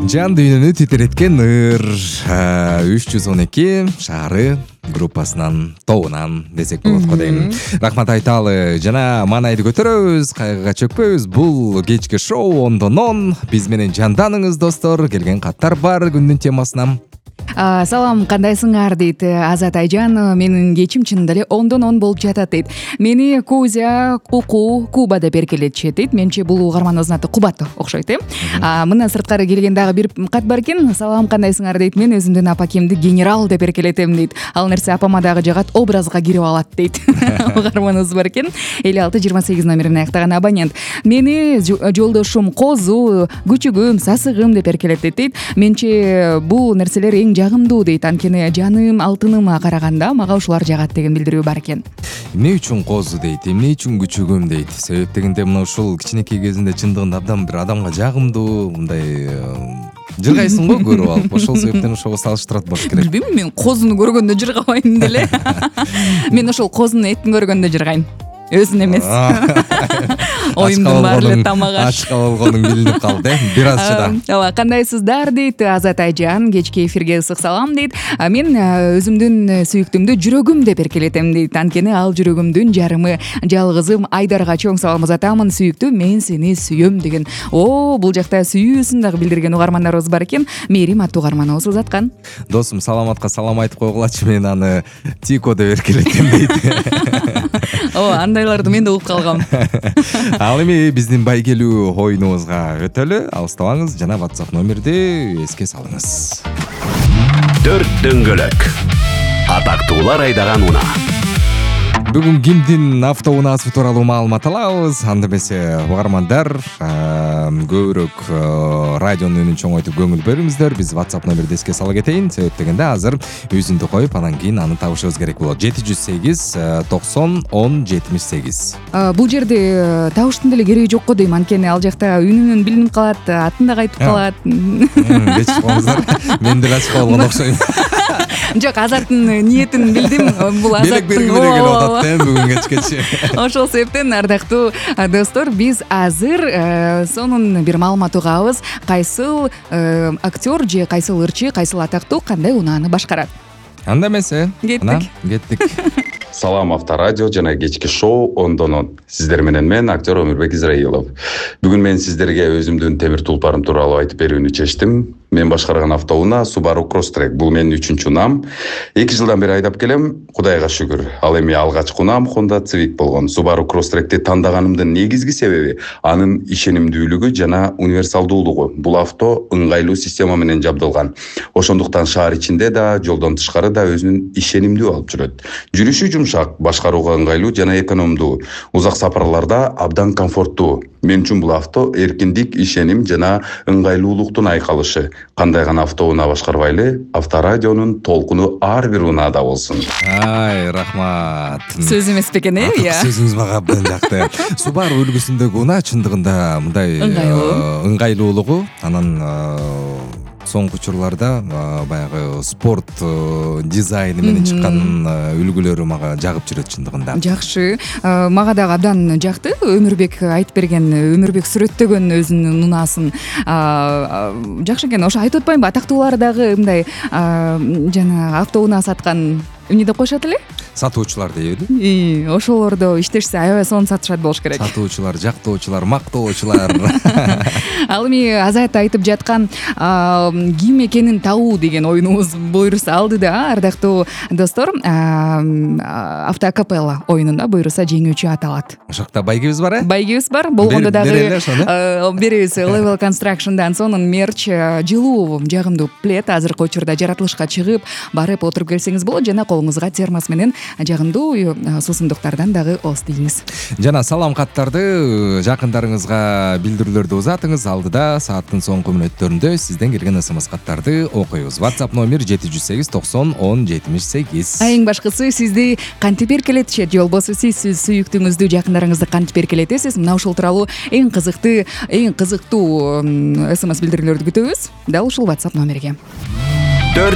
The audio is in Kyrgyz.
Жан дүйнөнү титиреткен ыр 312 шаары группасынан тобунан десек болот го дейм. Рахмат айталы. Жана маанайды көтөрөбүз, кайгыга чөкпөйбүз. Бул кечки шоу 10-10. Биз менен жанданыңыз достор. Келген каттар бар күндүн темасына. Салам, кандайсыңар дейт Азат Айжан. Менин кечим чынында эле 10-10 болуп жатат дейт. Мени Кузя, Куку, Куба деп эркелетишет дейт. Менче бул угармандын аты Кубат окшойт мына сырткары келген дагы бир кат бар экен. Салам, кандайсыңар дейт. Мен өзүмдүн апакемди генерал деп эркелетем дейт. Ал нерсе апама дагы жагат, образга кирип алат дейт. Угарманыбыз бар экен. 56-28 номерин аяктаган абонент. Мени жолдошум Козу, күчүгүм, сасыгым деп эркелетет дейт. Менче бул нерселер эң жагымдуу дейт. Анткени жаным, алтыныма караганда мага ушулар жагат деген билдирүү бар экен. Эмне үчүн Козу дейт, эмне үчүн күчүгүм дейт. Себеп дегенде мына ушул кичинекей кезинде чындыгында абдан бир адамга жагымдуу, мындай жыргайсың го көрүп алып. Ошол себептен ошого салыштырат болуш керек. Билбейм, мен Козуну көргөндө жыргабайм деле. Мен ошол Козунун этин көргөндө жыргайм. Өзүн эмес. Оюмдун баары эле тамак аш. Ачка болгонуң билинип калды, бир аз чыда. Ооба, кандайсыздар дейт Азат Айжан. Кечки эфирге ысык салам дейт. Мен өзүмдүн сүйүктүмдү жүрөгүм деп эркелетем дейт. Анткени ал жүрөгүмдүн жарымы, жалгызым. Айдарга чоң салам узатамын. Сүйүктүү, мен сени сүйөм деген. Бул жакта сүйүүсүн дагы билдирген угармандарыбыз бар экен. Мээрим аттуу угарманыбыз узаткан. Досум, саламатка салам айтып койгулачы, мен аны Тико деп эркелетем дейт. Андайларды мен да угуп калгам. Ал эми биздин байгелүү оюнубузга өтөлү. Алыстабаңыз, жана WhatsApp номерди эске салыңыз. 4 дөңгөлөк. Атактуулар айдаган унаа. Бүгүн кимдин автоунаасы тууралуу маалымат алабыз. Анда эмесе угармандар көбүрөөк радионун үнүн чоңойтуп көңүл бериңиздер. Биз WhatsApp номерди эске сала кетейин. Себеп дегенде азыр үзүндү коюп, анан кийин аны табышыбыз керек болот. 708 90 10 78. Бул жерде табыштын деле кереги жок го дейм. Анткени ал жакта үнүнөн билинип калат, атын дагы айтып калат. Кечип коңуздар. Мен деле ачык болгон окшойм. Жок, Азаттын ниетин билдим. Бул Азаттын бүгүн кечкечи. Ошол себептен ардактуу достор, биз азыр сонун бир маалымат угабыз. Кайсыл актер же кайсыл ырчы, кайсыл атактуу кандай унааны башкарат? Анда эмесе, кеттик. Салам, Авторадио жана кечки шоу 10-10. Сиздер менен мен, актер Өмүрбек Израилов. Бүгүн мен сиздерге өзүмдүн темир тулпарым тууралуу айтып берүүнү чечтим. Мен башкарган автоунаа Subaru Crosstrek. Бул менин 3-чү унаам. 2 жылдан бери айдап келем, Кудайга шүгүр. Ал эми алгачкы унаам Honda Civic болгон. Subaru Crosstrekти тандаганымдын негизги себеби анын ишенимдүүлүгү жана универсалдуулугу. Бул авто ыңгайлуу система менен жабдылган. Ошондуктан шаар ичинде да, жолдон тышкары да өзүнүн ишенимдүү алып жүрөт. Жүрүшү жумшак, башкарууга ыңгайлуу жана экономдуу. Узак сапарларда абдан комфорттуу. Мен үчүн бул авто эркиндик, ишеним жана ыңгайлуулуктун айкалышы. Кандай гана автоунаа башкарбайлы, Авторадионун толкуну ар бир унаада болсун. Ай, рахмат. Сөз эмес бекен, Сөзүңүз мага абдан жакты. Subaru үлгүсүндөгү унаа чындыгында мындай ыңгайлуулугу, анан соңку учурларда баягы спорт дизайны менен чыккан үлгүлөрү мага жагып жүрөт чындыгында. Жакшы. Мага дагы абдан жакты. Өмүрбек айтып берген, Өмүрбек сүрөттөгөн өзүнүн унаасын. Жакшы экен. Ошо айтып атпаймынбы, атактуулар дагы мындай жана автоунаа саткан эмне деп коюшат эле? Сатуучулар дейбиз. Ошолордо иштешсе аябай сонун сатышат болуш керек. Сатуучулар, жактоочулар, мактоочулар. Ал эми Азат айтып жаткан ким экенин табуу деген оюнубуз буйруса алдыда, ардактуу достор. Автокапелла оюнунда буйруса жеңүүчү аталат. Ошокта байгебиз бар, Байгебиз бар. Болгондо дагы беребиз. Level Construction'дан сонун мерч, жылуу, жагымдуу плед азыркы учурда жаратылышка чыгып, барып отуруп келсеңиз болот, жана колуңузга термос менен жагымдуу суусундуктардан дагы ос деймиз. Жана салам каттарды жакындарыңызга билдирүүлөрдү узатыңыз. Алдыда сааттын соңку мүнөттөрүндө сизден келген СМС каттарды окуйбуз. WhatsApp номер 708 90 10 78. Эң башкысы сизди кантип эркелетишет, же болбосо сиз сүйүктүүңүздү, жакындарыңызды кантип эркелетесиз? Мына ушул тууралуу эң кызыктуу СМС билдирүүлөрдү күтөбүз. Дал ушул WhatsApp номерге. 4